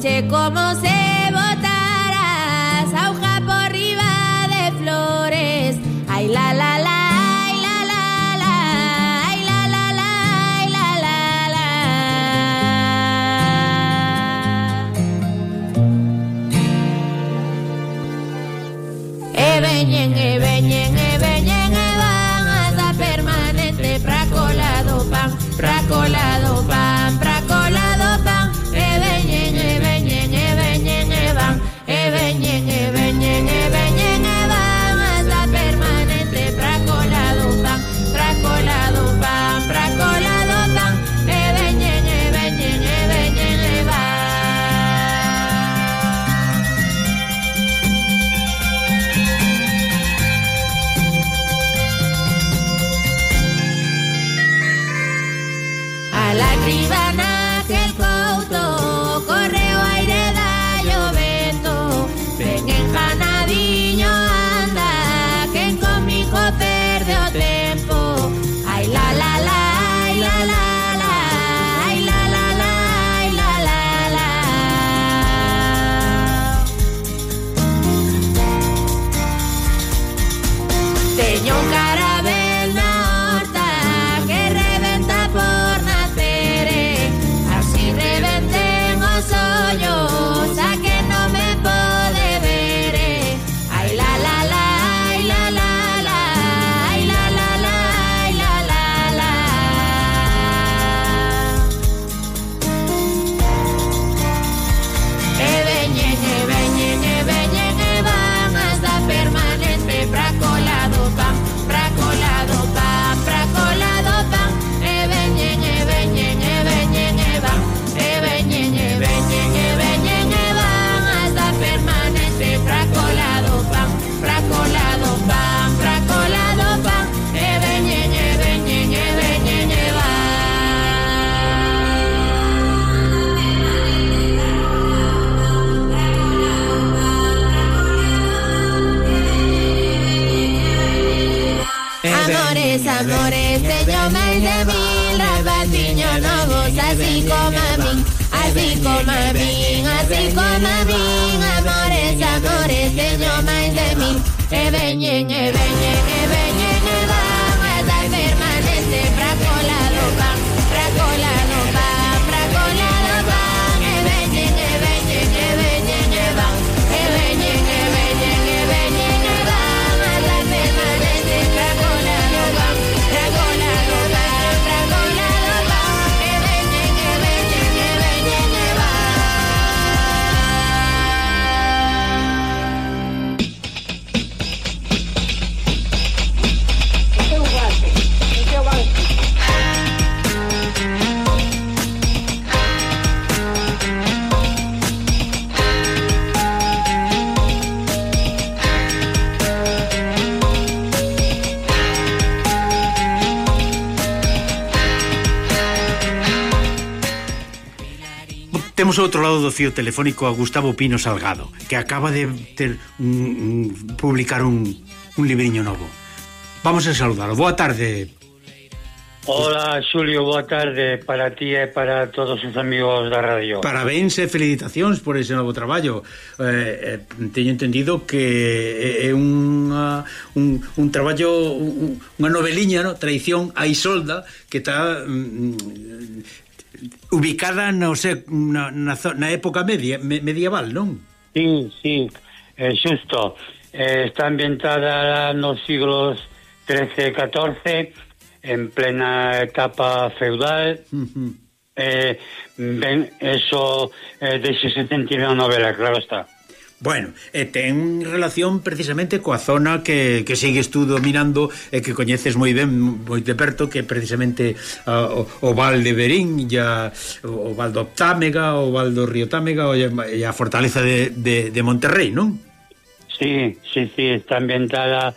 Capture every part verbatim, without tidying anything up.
Che como se botaras auja por riba de flores. Ay la la la, ay la la la, ay la la la, ay la la la. E veñen, e veñen, e veñen, e van hasta permanente pra colado pan, pra colado pan, pra colado pan. E veñen, e veñen, e veñen, e van, e veñen, e veñen, e veñen, e van hasta permanente pra colado pan, pra colado pan, pra colado pan. E veñen, e veñen, e veñen, e van. A la cribana que el couto corre o aire da o vento. Ven enjanadiño anda que conmigo perde o tempo. Ay la la la, ay la la la, ay la la la, ay la la la. Teño un carabel na horta que reventa por nacer. Así reventen os ollos a que no me pode ver. Ay la la la, ay la la la, ay la la la, ay la la la. E veñen, e veñen, e veñen, e van hasta permanente pra colado pan, pra colado pan, pra colado pan. E veñen, e veñen, e veñen, e van, e veñen, e veñen, e veñen, e van hasta permanente pra colado pan, pra colado pan, pra colado pan. E veñen, e veñen, e veñen, e van. Amores, amores, teño máis de mil rapatiños novos, así como a min, así como a min, así como a min. Amores, amores, teño máis de mil. E veñen, e veñen, e veñen, e van hasta permanente pra colado pan, pra colado pan, pra colado pan. E veñen, e veñen, e veñen, e van, e veñen, e veñen, e veñen, e van hasta permanente pra colado pan, pra colado pan, pra colado pan. E veñen, e veñen, e veñen, e van. Temos ao outro lado do fío telefónico a Gustavo Pino Salgado, que acaba de ter un, un, publicar un, un libriño novo. Vamos a saludarlo. Boa tarde. Hola, Xulio, boa tarde para ti e para todos os amigos da radio. Parabéns e felicitacións por ese novo traballo. Eh, eh, teño entendido que é unha, un, un traballo, un, unha noveliña, no? Traición a Isolda, que está mm, ubicada no, sé, na, na, na época media, me, medieval, non? Sí, sí, eh, xusto. Eh, está ambientada nos siglos trece e catorce, en plena etapa feudal. Uh-huh. eh, ben, eso eh, deixese sentir na novela, claro está. Bueno, e ten relación precisamente coa zona que, que sigues tú dominando e que coñeces moi ben, moi de perto, que precisamente uh, o, o Val de Verín, ya, o Val do Támega, o Val do Río Támega e a fortaleza de, de, de Monterrey, non? Sí, sí, sí, está ambientada.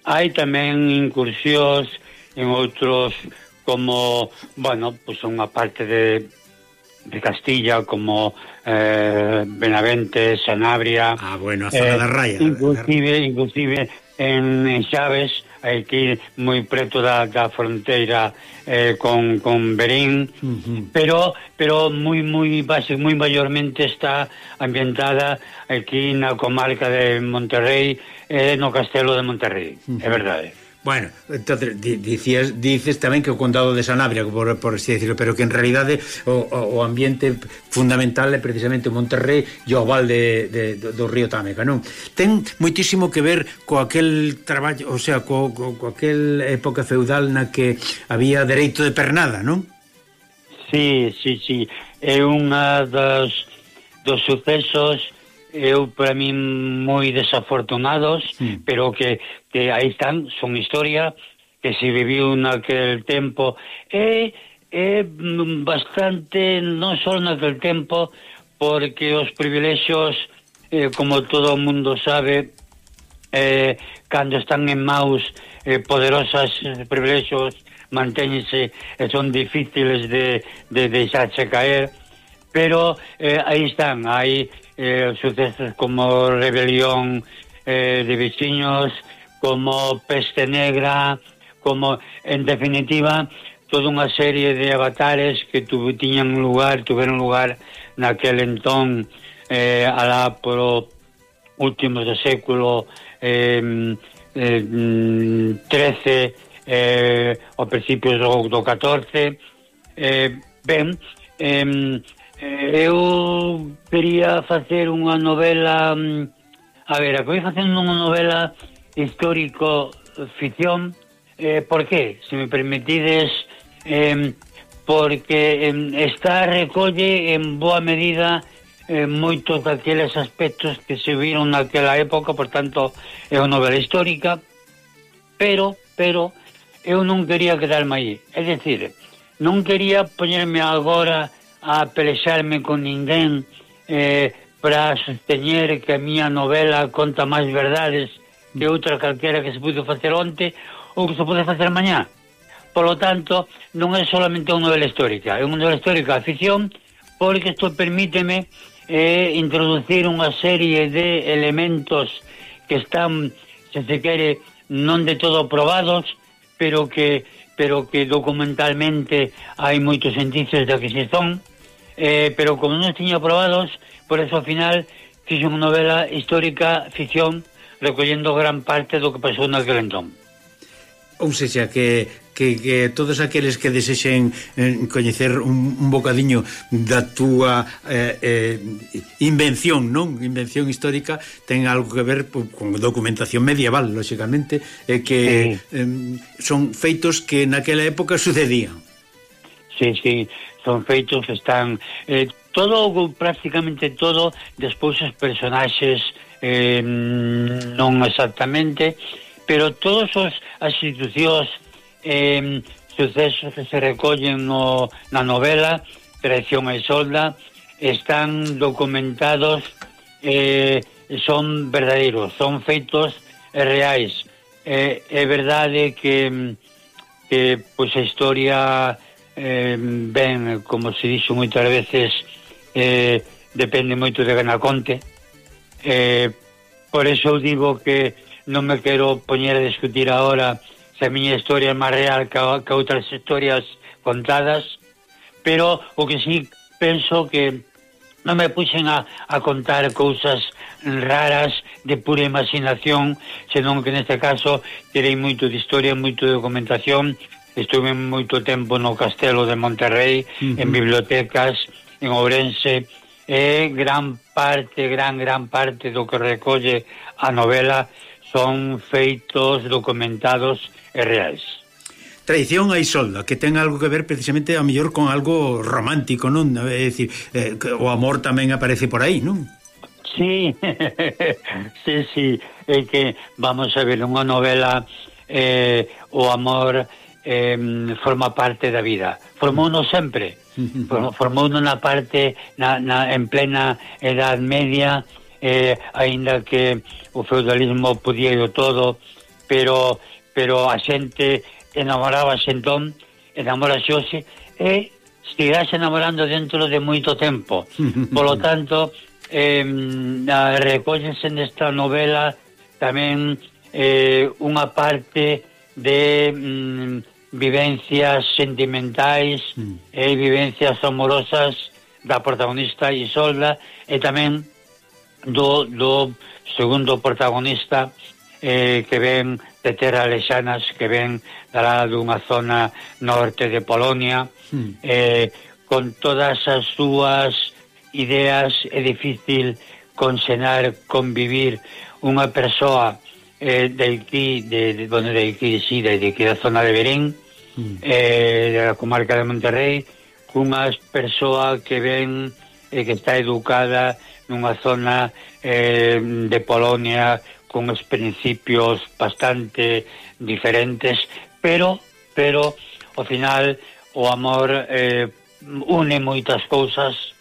Hai tamén incursións en outros, como, bueno, pues unha parte de de Castilla, como eh, Benavente, Sanabria. Ah, bueno, a zona eh, da Raya. Inclusive, inclusive en, en Xaves aquí moi preto da, da fronteira eh, con, con Berín, uh-huh. pero pero moi moi base moi maiormente está ambientada aquí na comarca de Monterrey, eh, no Castelo de Monterrey, uh-huh. é verdade. Bueno, entonces dicías, dices tamén que o condado de Sanabria, por, por así decirlo, pero que en realidade o, o ambiente fundamental é precisamente Monterrey e o val de, de, do río Támega, non? Ten moitísimo que ver co aquel traballo, o sea, co, co, co aquel época feudal na que había dereito de pernada, non? Sí, sí, sí. É unha dos, dos sucesos eu para min moi desafortunados, sí. pero que, que aí están, son historia que se viviu naquel tempo e é bastante, non só naquel tempo, porque os privilexios, eh, como todo o mundo sabe, eh, cando están en maus eh, poderosas, eh, privilexios mantéñense e son difíciles de, de deixarse caer, pero eh, aí están, hai eh, sucesos como rebelión eh, de veciños, como peste negra, como, en definitiva, toda unha serie de avatares que tu, tiñan lugar, tuveron lugar naquel entón, eh, alá por últimos do século eh, eh, trece, eh, ao principios do, do catorce. Eh, ben, eh, eu quería facer unha novela, a ver, acabei facendo unha novela histórico-ficción. Eh, por qué? Se me permitides, eh, porque eh, esta recolle en boa medida eh, moitos daqueles aspectos que se viron naquela época, por tanto é unha novela histórica, pero, pero eu non quería quedarme aí, é dicir, non quería poñerme agora a pelexarme con ninguén eh, para sosteñer que a miña novela conta máis verdades que outra calquera que se pudo facer onte ou que se pode facer mañá. Por lo tanto, non é solamente unha novela histórica, é unha novela histórica a ficción, porque isto permíteme eh, introducir unha serie de elementos que están, se se quere, non de todo probados, pero que pero que documentalmente hai moitos indicios de que se son, eh, pero como non tiña probados, por eso ao final fixe unha novela histórica ficción recollendo gran parte do que pasou naquele entón. Ou seja, que, que, que todos aqueles que desexen eh, coñecer un, un bocadiño da túa eh, eh, invención, non? Invención histórica, ten algo que ver pues, con documentación medieval, lóxicamente, eh, que sí. eh, son feitos que naquela época sucedían. Sí, sí, son feitos que están... Eh, todo, prácticamente todo, despois os personaxes eh, non exactamente... pero todos os as institucións eh, sucesos que se recollen no, na novela Traición a Isolda están documentados, eh, son verdadeiros, son feitos reais. Eh, é verdade que, que pois a historia eh, ben, como se dixo moitas veces, eh, depende moito de Ganaconte, eh, por eso eu digo que non me quero poñer a discutir agora se a miña historia é máis real que, que outras historias contadas, pero o que sí penso que non me puxen a, a contar cousas raras de pura imaginación, senón que neste caso terei moito de historia, moito de documentación. Estuve moito tempo no Castelo de Monterrey, uh-huh. en bibliotecas, en Ourense, e gran parte, gran, gran parte do que recolle a novela son feitos documentados e reais. Traición a Isolda, que ten algo que ver precisamente a mellor con algo romántico, non? É dicir, eh, o amor tamén aparece por aí, non? Sí, sí, sí, é que, vamos a ver, unha novela, eh, o amor eh, forma parte da vida. Formouno sempre, formouno na parte, na, na, en plena Edad Media, eh, aínda que o feudalismo podía ir todo, pero pero a xente enamorábase entón, enamorase hoxe e seguirase enamorando dentro de moito tempo. Por lo tanto, eh, recóllense nesta novela tamén eh, unha parte de mm, vivencias sentimentais mm. e vivencias amorosas da protagonista Isolda e tamén do, do segundo protagonista eh, que ven de terras lejanas, que ven dará dunha zona norte de Polonia, mm. eh, con todas as súas ideas. É difícil consenar, convivir unha persoa eh, de aquí, de, de, bueno, de aquí, sí, de, de aquí da zona de Berén, mm. eh, de la comarca de Monterrey, cunha persoa que ven eh, que está educada nunha zona eh, de Polonia con os principios bastante diferentes, pero pero ao final o amor eh, une moitas cousas,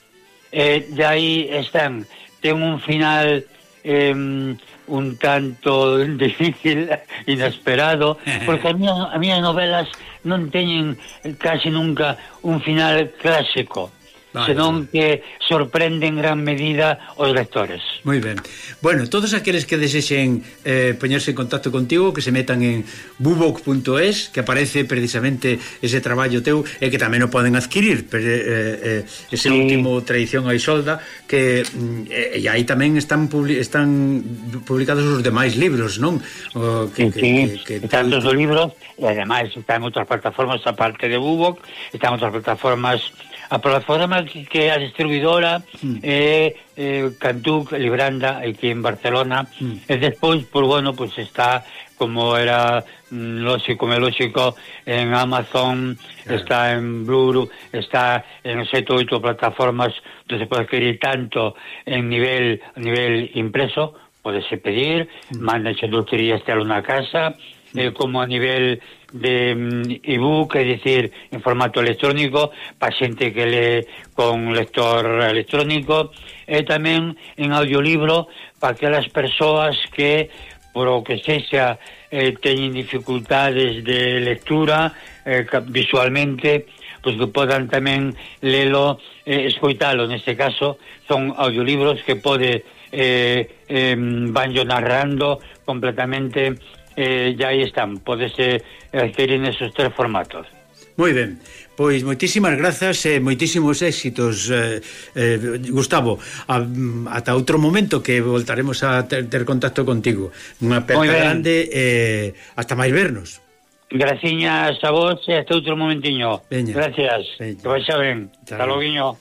e de aí están. Ten un final eh, un tanto difícil, inesperado, porque as miñas, as miñas novelas non teñen casi nunca un final clásico, vale, senón que sorprende en gran medida os lectores. Moi ben. Bueno, todos aqueles que desexen eh, poñerse en contacto contigo, que se metan en bubok punto es, que aparece precisamente ese traballo teu, e que tamén o poden adquirir, pero, eh, eh, ese sí. último Traición a Isolda, que eh, e aí tamén están publi están publicados os demais libros, non? O, que, sí, que, que, que están todos os libros, e ademais están en outras plataformas aparte de Bubok, están en outras plataformas. A plataforma que, que a distribuidora mm. é eh, Cantuc, Libranda, aquí en Barcelona, mm. e despois, pues, bueno, pues está, como era mm, lógico, me lógico, en Amazon, claro. Está en Bluru, está en sete ou oito plataformas donde se pode adquirir tanto en nivel, a nivel impreso, podese pedir, mm. mandanse dulcerías telo na casa, mm. eh, como a nivel de um, ebook, é dicir, en formato electrónico, para xente que lee con lector electrónico, e tamén en audiolibro para aquelas persoas que, por o que sexa, eh, teñen dificultades de lectura eh, visualmente, pois que podan tamén lelo, eh, escoitalo. Neste caso son audiolibros que pode eh, eh, vanyo narrando completamente. Eh, ya aí están, podese adquirir nesos tres formatos. Moi ben, pois moitísimas grazas e moitísimos éxitos, eh, eh, Gustavo. A, ata outro momento que voltaremos a ter, ter contacto contigo. Unha aperta grande e eh, hasta máis vernos. Graciñas a vos e hasta outro momentiño. Veña. Gracias. Veña. Que vaixa ben. Hasta loguiño.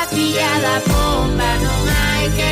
Filla da pomba, non hai que